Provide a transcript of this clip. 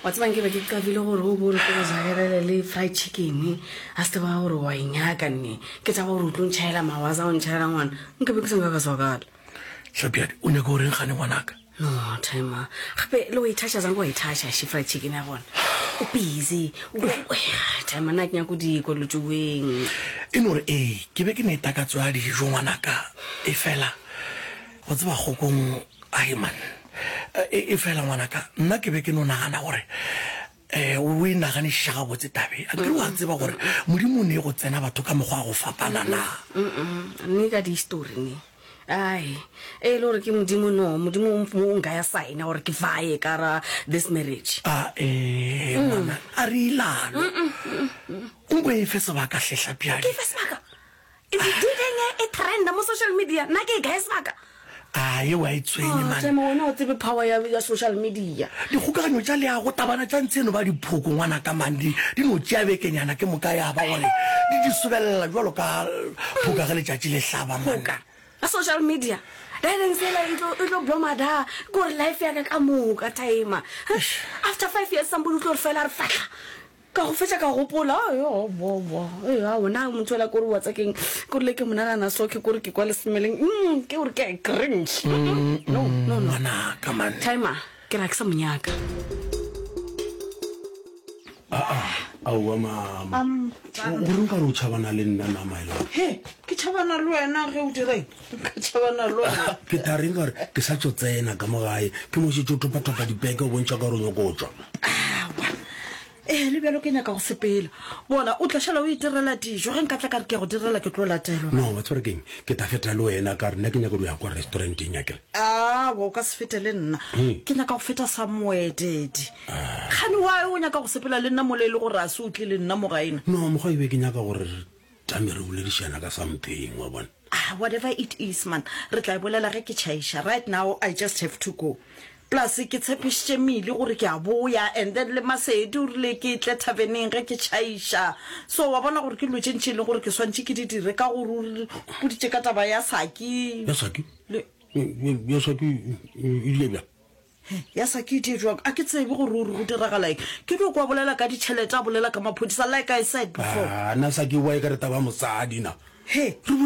Wa tseba nke be ke qabile gore o bo re ke go jagelele le fried chicken a se taba gore wa e nyaka nne ke taba gore o tlo ntšhaela mawaza o ntšhaela ngwana nke be ke se nka ka swakala. Hlapjadi o nyaka goreng gane ngwanaka? No timer gape le o ithaša jang wa ithaša she fried chicken ya gona o busy timer nna ke nyako di kwa dilo tšeweng. E no re ee ke be ke ne takatso ya dijo ngwanaka e fela go tseba kgokong Ai man, e, efela ngwanaka, nna ke be ke no nagana gore um o e naganišiša gabotse tabe. A kere wa tseba gore Modimo o ne go tsena batho ka mokgwa wa go fapana na? Ne ka di-history ne. Ai, e le gore ke Modimo no, Modimo o nka ya signa gore ke vaye ka ra this marriage. A ee, ngwana, a re ilalo. Nko e fe sebaka hle Hlapjadi. Ke fe sebaka? Dideng e trenda mo social media nna ke e kae sebaka a ye wa e tshwenye man Tema wena o tsebe power ya, ya social media dikgokaganyo tša leago tabana tša ntshe eno ba diphoko ngwana ka man di di no tšea bekenyana ke moka ya ba gore di di sobelela jwalo ka phoka ge letšatši le hlaba man Phoka ya social media Dadeng sela e tlo e tlo bloma da ke gore life ya ka ka moka timer after 5 years somebody o tlo re fela a re fahla Ka go fetša ka gopola, aowa, ee, aowa, na motho yola kore wa tsa keng, kore le ke monagana so, ke kore ke kwa le smeleng, mm, ke gore ke a cringe. Mm, no, no, no. Ngwanaka, man. Timer, ke ra ke sa mo nyaka. Aa, aowa mama. Gore nka re o tšhabana le nna na my love? He, ke tšhabana le wena ge o dira eng? Nka tšhabana le wena. Ke tla reng ka gore ke sa tšo tsena ka mo gae, ke mo šetše o topa-topa dipeke o bontšha ka gore o nyoko tšwa. Aowa. Ee, le bjalo ke nyaka go sepela. Bona, o tla šala o itirela dijo. Ge nka tla ka re ke ya go direla, ke tlo latelwa. No, wa tseba gore ke'ng? Ke tla feta le wena ka re nna ke nyaka go ya kwa restauranteng akere. Aowa, o ka se fete le nna. Ke nyaka go feta somewhere, Daddy. Kgane why o nyaka go sepela le nna mola e le gore a se o tle le nna mo gae na? No, mokgwa e be ke nyaka gore re tame re boledišana ka something, wa bona. Ah, whatever it is, man, re tla e bolela ge ke tšhaiša. Right now, I just have to go. Plus, ke tshepišitše Mili gore ke a boya, and then le Masedi o rile ke tle thaveneng ge ke tšhaiša. So, wa bona gore ke dilo tše ntši e leng gore ke swantše ke di dire, ka gore o re boditše ka taba ya Saki. Ya Saki? Le. Ya Saki e ile bjang? He, ya Saki e die bjang? A ke tsebe gore o re go diragala eng. Ke dio kwa bolela ka ditšhelete, a bolela ka maphodisa, like I said before. Ah, na Saki wa e ka re taba ya mosadi na? He. Re.